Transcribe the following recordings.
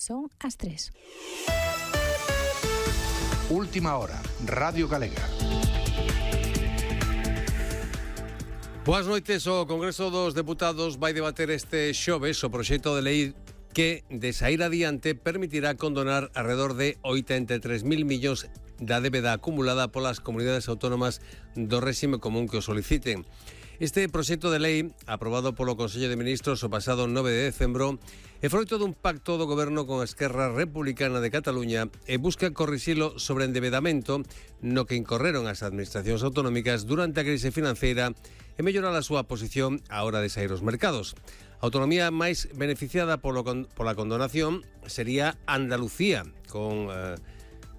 Son as 3. Última hora, Radio Galega. Boas noites. O Congreso dos Deputados vai debater este xoves o proxecto de lei que, de saír adiante, permitirá condonar alrededor de 83.000 millóns da débeda acumulada polas comunidades autónomas do réxime común que o soliciten. Este proxecto de lei, aprobado polo Consello de Ministros o pasado 9 de decembro, é froito dun pacto do Goberno con a Esquerra Republicana de Cataluña e busca corrixilo sobre endebedamento no que incorreron as administracións autonómicas durante a crise financeira e mellorar a súa posición á hora de sair aos mercados. A autonomía máis beneficiada pola condonación sería Andalucía, con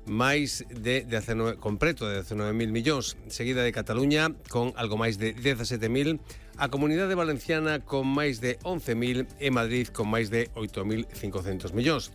máis de 19, con preto de 19.000 millóns, seguida de Cataluña con algo máis de 17.000, a Comunidade Valenciana con máis de 11.000 e Madrid con máis de 8.500 millóns.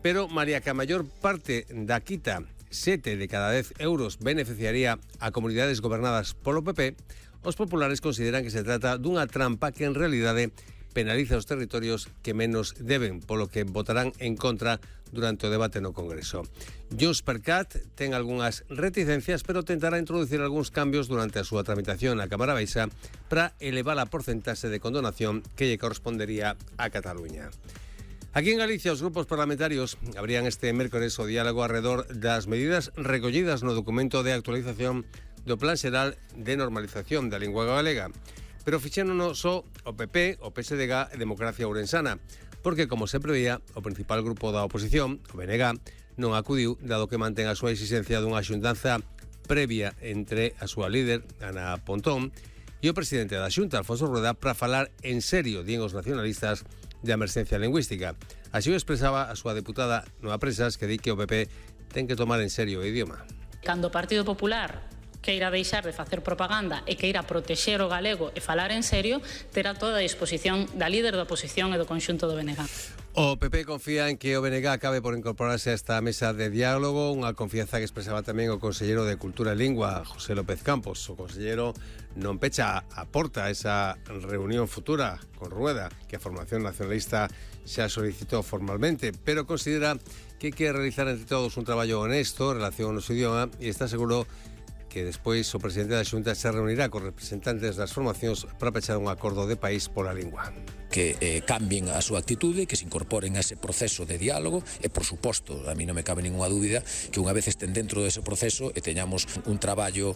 Pero, María, que a maior parte da quita, 7 de cada 10 euros, beneficiaría a comunidades gobernadas polo PP, os populares consideran que se trata dunha trampa que en realidade penaliza os territorios que menos deben, polo que votarán en contra durante o debate no Congreso. JxCat ten algunhas reticencias, pero tentará introducir algúns cambios durante a súa tramitación na Cámara Baixa para elevar a porcentaxe de condonación que lle correspondería a Cataluña. Aquí en Galicia, os grupos parlamentarios abrían este mércores o diálogo alrededor das medidas recollidas no documento de actualización do Plan Xeral de Normalización da Lingua Galega. Pero fixérono só o PP, o PSDG e Democracia Ourensana, porque, como se prevía, o principal grupo da oposición, o BNG, non acudiu, dado que mantén a súa exigencia dunha xuntanza previa entre a súa líder, Ana Pontón, e o presidente da Xunta, Alfonso Rueda, para falar en serio, din os nacionalistas, de emerxencia lingüística. Así o expresaba a súa deputada Noa Presas, que di que o PP ten que tomar en serio o idioma. Cando o Partido Popular queira deixar de facer propaganda e queira protexer o galego e falar en serio, terá toda a disposición da líder da oposición e do conxunto do BNG. O PP confía en que o BNG acabe por incorporarse a esta mesa de diálogo, unha confianza que expresaba tamén o conselleiro de Cultura e Lingua, José López Campos. O conselleiro non pecha a porta a esa reunión futura con Rueda, que a formación nacionalista xa solicitou formalmente, pero considera que hai que realizar entre todos un traballo honesto en relación ao noso idioma e está seguro que despois o presidente da Xunta se reunirá con representantes das formacións para pechar un acordo de país pola lingua. Que cambien a súa actitude, que se incorporen a ese proceso de diálogo e, por suposto, a mí non me cabe ninguna dúbida que unha vez estén dentro dese proceso e teñamos un traballo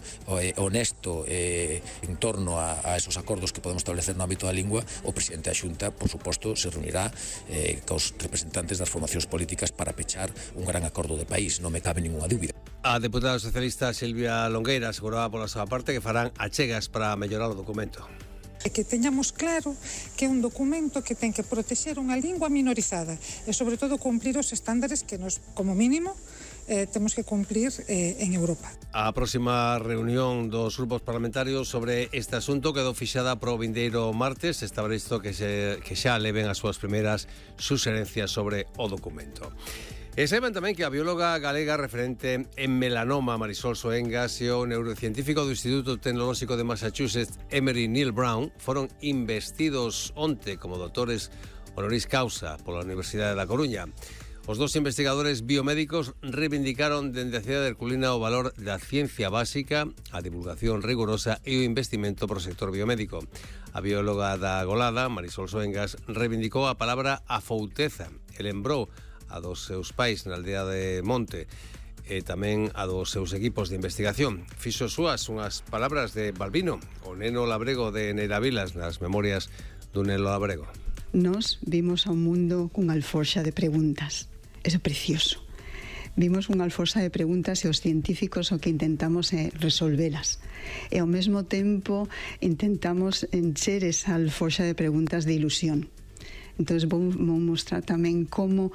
honesto en torno a esos acordos que podemos establecer no ámbito da lingua, o presidente da Xunta, por suposto, se reunirá cos representantes das formacións políticas para pechar un gran acordo de país, non me cabe ninguna dúbida. A deputada socialista Silvia Longueira aseguraba pola súa parte que farán achegas para mellorar o documento. Que teñamos claro que é un documento que ten que protexer unha lingua minorizada e, sobre todo, cumplir os estándares que nos, como mínimo, temos que cumplir en Europa. A próxima reunión dos grupos parlamentarios sobre este asunto quedou fixada pro vindeiro martes. Está previsto que xa leven as súas primeiras suxerencias sobre o documento. E saiban tamén que a bióloga galega referente en melanoma Marisol Soengas e o neurocientífico do Instituto Tecnolóxico de Massachusetts Emory Neil Brown foron investidos onte como doutores honoris causa pola Universidade da Coruña. Os dos investigadores biomédicos reivindicaron dende a cidade herculina o valor da ciencia básica, a divulgación rigurosa e o investimento pro sector biomédico. A bióloga da Golada, Marisol Soengas, reivindicou a palabra afouteza e lembrou a dos seus pais na aldea de Monte e tamén a dos seus equipos de investigación. Fixo súas unhas palabras de Balbino, o neno labrego de Neira Vilas, nas memorias dun neno labrego. Nos vimos ao mundo cunha alforxa de preguntas. Eso é precioso. Vimos unha alforxa de preguntas e os científicos o que intentamos é resolvelas. E ao mesmo tempo intentamos encher esa alforxa de preguntas de ilusión. Entón, vou mostrar tamén como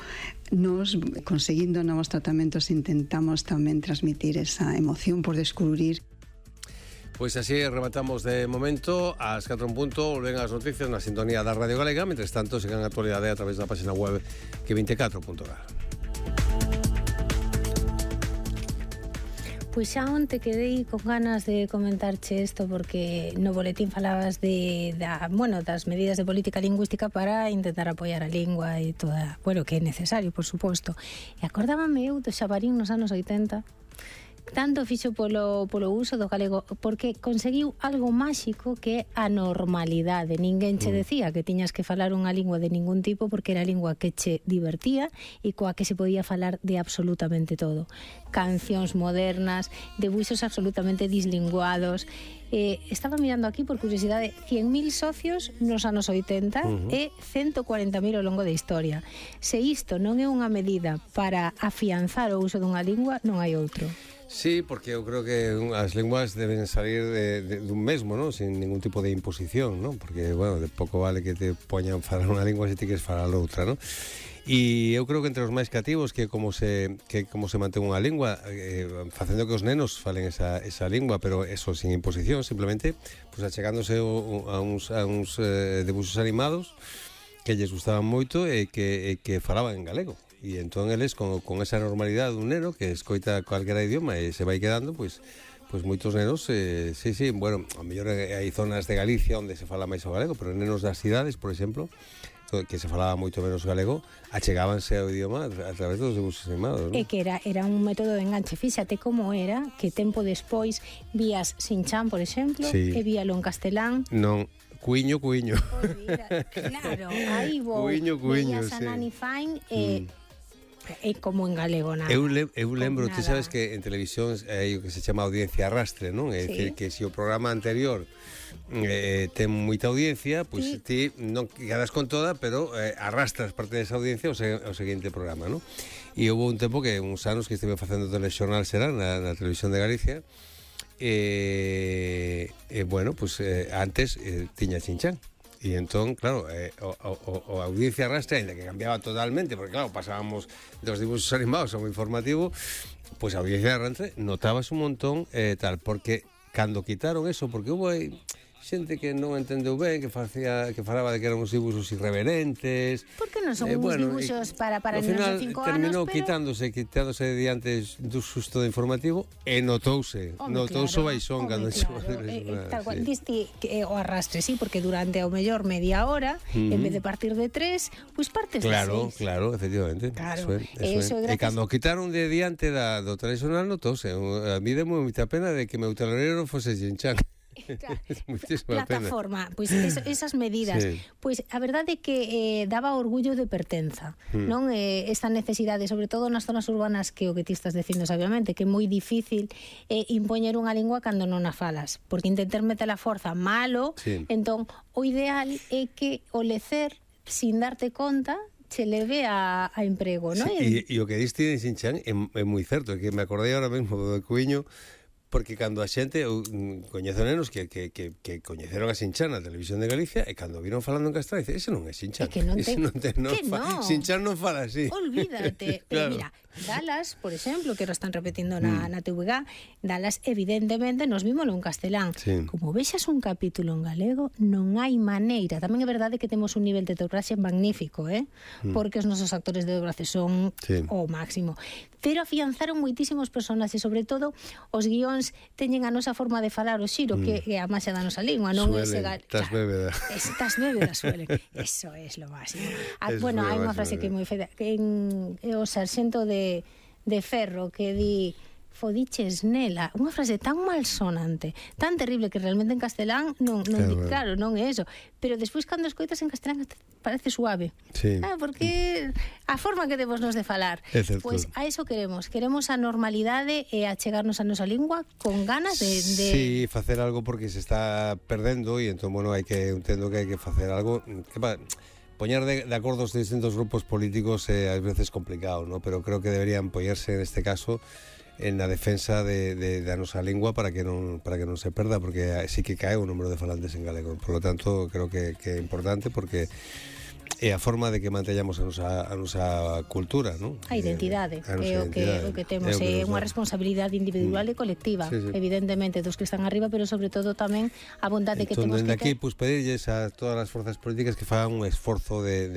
nos, conseguindo novos tratamentos, intentamos tamén transmitir esa emoción por descubrir. Pois así rematamos de momento. Ás 4 en punto volven as noticias na sintonía da Radio Galega. Mentres tanto, sigan a actualidade a través da página web que24.gal. Pois xa onte quedei con ganas de comentarche isto porque no boletín falabas das medidas de política lingüística para intentar apoiar a lingua e toda, que é necesario, por suposto. E acordábame eu do Xabarín nos anos 80, tanto fixo polo uso do galego porque conseguiu algo máxico que é a normalidade. Ninguén che decía que tiñas que falar unha lingua de ningún tipo porque era a lingua que che divertía e coa que se podía falar de absolutamente todo. Cancións modernas, debuxos absolutamente dislinguados. Estaba mirando aquí por curiosidade 100.000 socios nos anos 80 e 140.000 ao longo da historia. Se isto non é unha medida para afianzar o uso dunha lingua, non hai outro. Sí, porque eu creo que as linguas deben salir dun mesmo, ¿no? Sin ningún tipo de imposición, ¿no? Porque, de pouco vale que te poñan falar unha lingua se ti queres falar outra, ¿no? E eu creo que entre os máis cativos que como se mantén unha lingua facendo que os nenos falen esa lingua, pero eso sin imposición, simplemente pues achegándose a uns debuxos animados que lles gustaban moito e que falaban en galego. E entón eles con esa normalidade dun neno que escoita calquera idioma e se vai quedando, pois moitos nenos, a mellor hai zonas de Galicia onde se fala máis o galego, pero nenos das cidades, por exemplo, que se falaba moito menos galego, achegábanse ao idioma a través dos debuxos animados, ¿no? E que era un método de enganche. Fíxate como era que tempo despois vías Shin-chan, por exemplo, sí, e víalo en castelán. Non, cuiño. Claro, aí vou. Cuiño, sí. Nani Fine e como en galego nada. Eu lembro, ti sabes que en televisión hai o que se chama audiencia arrastre, non? É dicir, que se o programa anterior ten moita audiencia, pois ti non quedas con toda, pero arrastras parte desa audiencia ao seguinte programa, non? E houve un tempo que uns anos que estive facendo o telexornal Serán na televisión de Galicia antes tiña Shin-chan. E entón, claro, a audiencia arrastre, ainda que cambiaba totalmente, porque claro, pasábamos dos dibuxos animados ao informativo, pois a audiencia arrastre notabas un montón porque cando quitaron eso, porque houve xente que non entendeu ben, que falaba de que eran uns dibuxos irreverentes. Porque non son uns dibuxos para nenos de 5 anos, terminou quitándose diante do susto do informativo e notouse o baixón cando diste o arrastre, sí, porque durante ao mellor media hora, en vez de partir de 3, pois partes de 6. Claro, efectivamente. Eso é. E cando quitaron de diante do tradicional notouse. A mí demo moita pena de que meu telonero fose Shin-chan. Plataforma, pois esas medidas, sí. Pois a verdade é que daba orgullo de pertenza, non? Esta necesidade, sobre todo nas zonas urbanas, que o que ti estás dicindo sabiamente, que é moi difícil impoñer unha lingua cando non a falas, porque intentar meter a forza malo, sí. Entón o ideal é que o lecer sin darte conta se leve a emprego, non? Sí, e o que diste de Shin-chan é moi certo, que me acordei ahora mesmo do Cuiño, porque cando a xente coñece nenos que coñeceron a Shin-chan na televisión de Galicia e cando viron falando en castelán, dice, ese non é Shin-chan. Shin-chan non fala así. Olvídate. Pero mira, Dallas, por exemplo, que ahora están repetindo na TVG, Dallas, evidentemente, nos vímolo en castelán. Sí. Como vexas un capítulo en galego, non hai maneira. Tamén é verdade que temos un nivel de dobraxe magnífico, porque os nosos actores de dobraxe son o máximo. Pero afianzaron moitísimos personaxes, sobre todo os guións teñen a nosa forma de falar, o xiro, que é a máxia da nosa lingua, non ese tas bébeda. Tas bébeda suelen. Eso é lo máximo. Bueno, hai unha frase que é moi fea, que o sarxento de Ferro que di fodiches nela, unha frase tan malsonante, tan terrible, que realmente en castelán claro, non é eso, pero despois cando escoitas en castelán parece suave, sí. Porque a forma que temos nos de falar, pois a eso queremos a normalidade e a chegarnos a nosa lingua con ganas de... Sí, facer algo porque se está perdendo e entón, entendo que hai que facer algo que poñer de acordo os distintos grupos políticos é ás veces complicado, ¿no? Pero creo que deberían poñerse en este caso en la defensa da nosa lingua para que non se perda, porque sí que cae o número de falantes en galego. Por lo tanto, creo que é importante porque é a forma de que manteñamos a nosa cultura, non? A identidade, é o que temos, é unha responsabilidade individual e colectiva, sí. Evidentemente dos que están arriba, pero sobre todo tamén a vontade que temos que ter. Aquí, pues, pedirlles a todas as forzas políticas que fagan un esforzo de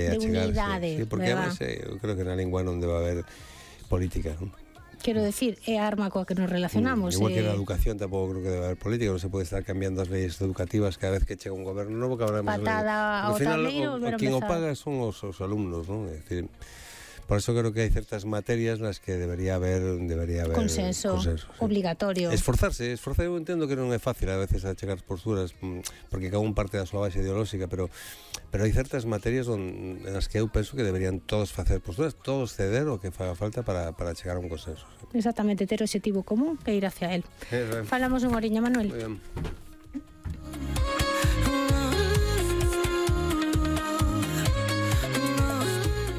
achegarse, unidade, sí, porque además eu creo que na lingua non debe haber política, non? Quero decir, é a arma coa que nos relacionamos. Igual que na educación tampouco creo que debe haber política, non se pode estar cambiando as leyes educativas cada vez que chega un goberno novo, que habrá máis patada ao tableiro, volver a quen o empezar. paga son os alumnos, non? É dicir, por eso creo que hai certas materias nas que debería haber consenso sí. obligatorio. Esforzarse, eu entendo que non é fácil a veces achegar posturas, porque cada un parte da súa base ideolóxica, pero hai certas materias nas que eu penso que deberían todos facer posturas, todos ceder o que faga falta para chegar a un consenso. Sí. Exactamente, ter objetivo común e ir hacia él. Falamos unha horiña, Manuel. Muy bien.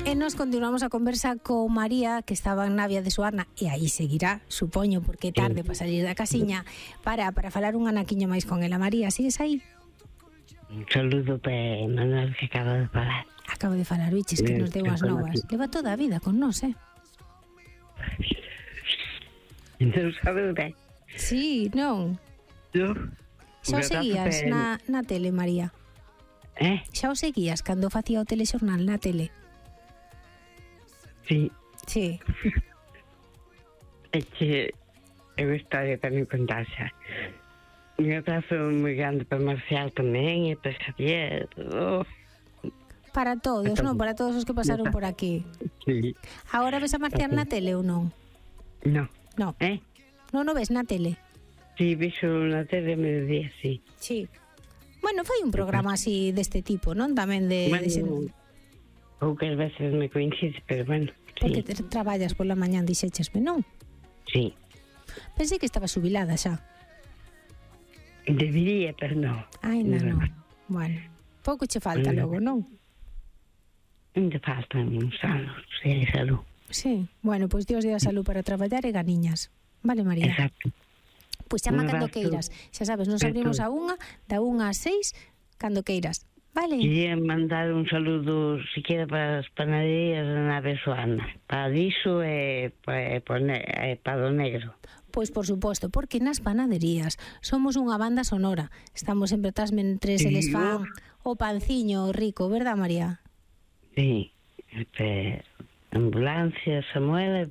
E nos continuamos a conversa con María, que estaba en Navia de Suarna, e aí seguirá, supoño, porque é tarde para salir da casiña, para falar un anaquiño máis con ela. María, sigues aí? Un saludo para Manuel, que acaba de falar. Acabo de falar, biches, que nos deu as novas. Leva toda a vida con nós, Non sabe. Sí, non. Xa o seguías na tele, María? Xa o seguías cando facía o telexornal na tele? Sí. Sí. É que é unha historia para me contar xa. Un abrazo moi grande para Marcial tamén e para Xavier. Para todos, non? Para todos os que pasaron por aquí. Sí. Agora ves a Marcial na tele ou non? No. No. Non o ves na tele? Sí, vexo na tele a mediodía, sí. Sí. Bueno, foi un programa así deste tipo, non? Tamén de... Bueno, poucas veces me coincide, pero bueno, sí. Porque traballas pola mañán, dixéchesme, non? Sí. Pensei que estaba xubilada xa. Debería, pero non. Ai, non. Bueno, pouco che falta logo, non? Ainda faltan uns anos, se hai salud. Sí, bueno, pois Dios dé a salud para traballar e ganiñas. Vale, María? Exacto. Pois chama cando queiras. Xa sabes, nos abrimos a unha, da 1 a 6, cando queiras. Vale? Quería mandar un saludo, si queda, para as panaderías da Nave Suarna. Para Diso e para o Negro. Pois por suposto, porque nas panaderías somos unha banda sonora. Estamos sempre atrás mentres eles fan o panciño rico, verdad, María? Sí, ambulancia, Samuel,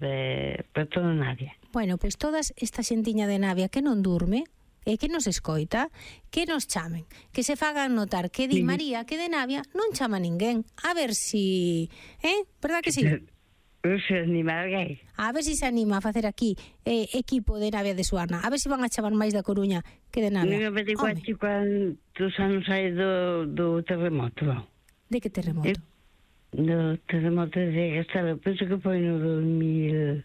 para toda Navia. Bueno, pois todas esta xentiña de Navia que non durme e que nos escoita, que nos chamen, que se fagan notar que di María que de Navia non chama ninguén. A ver si... verdad que sí? Se anima alguén. A ver si se anima a facer aquí equipo de Navia de Suarna. A ver si van a chamar máis da Coruña que de Navia. Non me digo cuántos anos hai do terremoto. De que terremoto? Do terremoto de Castelo. Penso que foi no 2000...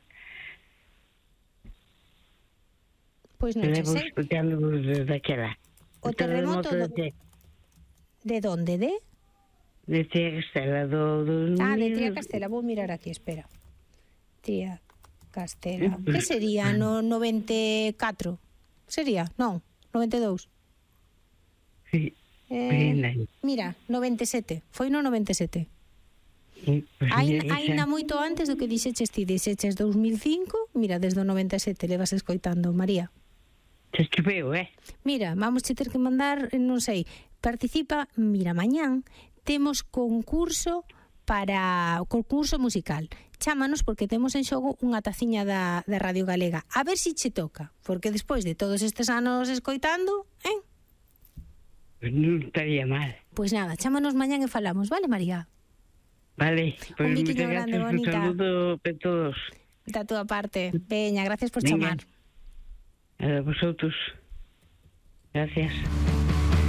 Pois non sei. Levo escutando desde aquela. O terremoto de donde? De Tría Castela, do 2000... Ah, de Tría Castela, vou mirar aquí, espera. Tría Castela. Que sería? No 94? Sería? Non, 92. Sí. Mira, 97. Foi no 97. Sí, pues Ainda moito antes do que dixeches ti, dixeches 2005, mira, desde o 97 levas escoitando, María. Se esquiveu, Mira, vamos che ter que mandar, non sei, participa, mira, mañán temos concurso musical. Chámanos porque temos en xogo unha taciña da Radio Galega. A ver si che toca, porque despois de todos estes anos escoitando, Pues non estaría mal. Pois nada, chámanos mañán e falamos, vale, María? Vale, un biquiño grande, bonita. Un saludo para todos. Da túa parte. Veña, gracias por chamar. A vosotros. Gracias.